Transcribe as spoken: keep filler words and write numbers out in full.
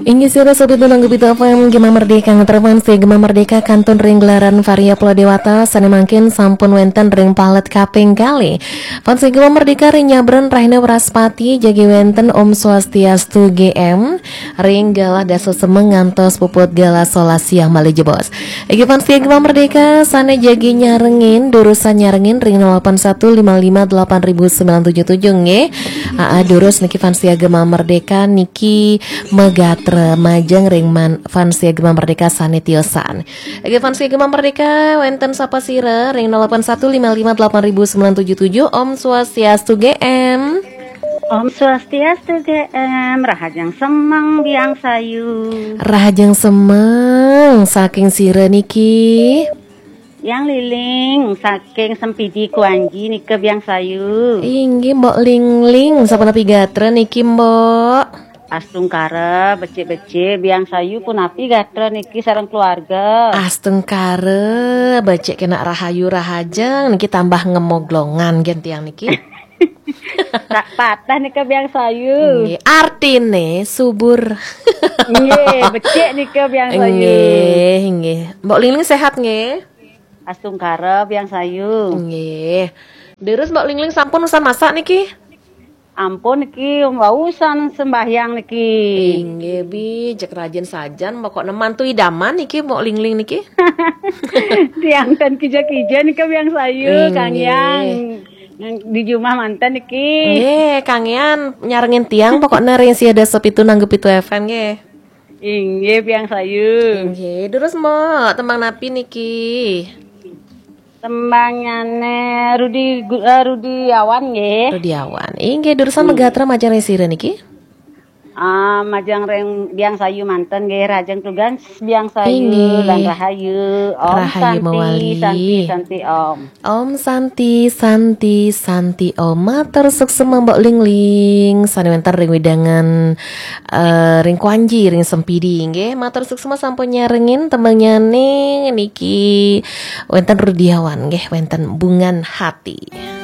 Inggih sira sobat Nanggu Pitu F M, Gema Merdeka, ngeterpun si Gema Merdeka kantun ring gelaran Varia Pulau Dewata, sane mangkin sampun wenten ring palet kaping kalih. Fans Gema Merdeka ring nyabran rahina Wraspati, jagi wenten Om Swastiastu G M, ring galah dasa semeng ngantos puput galah solas siang malih jebos. Inggih fans Gema Merdeka, sane jagi nyarengin, durusan nyarengin ring nol delapan satu lima lima delapan ribu sembilan tujuh tujuh nggih. Aa, durus niki fans Gema Merdeka niki magatra majeng ring man-, fans Gema Merdeka sane tiosan. Oke, fans Gema Merdeka, wenten sapa sira ring nol delapan satu lima lima delapan ribu sembilan tujuh tujuh. Om Swastiastu G M. Om Swastiastu G M, rahajeng semeng Biang Sayu. Rahajeng semeng, saking sira niki? Yang Liling, saking Sempidi Kuanji nika Biang Sayu. Inggih, Mbok Lingling, sapunapi gatra niki, Mbok? Astungkara, becik-becik, Biang Sayu punapi gatra niki sareng keluarga? Astungkara, becik kena rahayu rahajeng, niki tambah ngemoglongan gen tiang niki. Tak patah nika Biang Sayu. Nggih, artine subur. Nggih, becik nika Biang Sayu. Nggih, nggih. Mbok Lingling sehat nggih? Astungkara Biang Sayu. Nggih. Deres Mbok Lingling sampun usan masak niki? Ampun niki, wau usan sembahyang niki. Inggih, Bi, cek rajin sajan, pokokne mantu idaman niki, Mbok Lingling niki. Tiang ten kija-kija nika Biang Sayu, Inggih. Kang Yang. Di jumah manten niki. Nggih, Kang Yan nyarengin tiang pokokne ring sia dasa pitu nanggu pitu F M nggih. Inggih, Biang Sayu. Inggih, terus Mbok, tembang napi niki? Tembangnyane Rudi Gu-, eh, Rudi Awan nggih. Rudi Awan. Inggih, durusan Hmm. magatra majeng ring sira niki? Ah, majeng ring Biang Sayu manten nggih, rahajeng tugas Biang Sayu Inggih. Lan rahayu. Om Rahayu Santi, mawali. Santi, Santi Om. Om Santi, Santi, Santi Om. Matur suksma Mbok Lingling, sane wenten ring wewidangan, eh, ring Kuanji, ring Sempidi nggih. Matur suksma sampun nyarengin tembangnyane niki wenten Rudi Awan nggih, wenten Bungan Hati.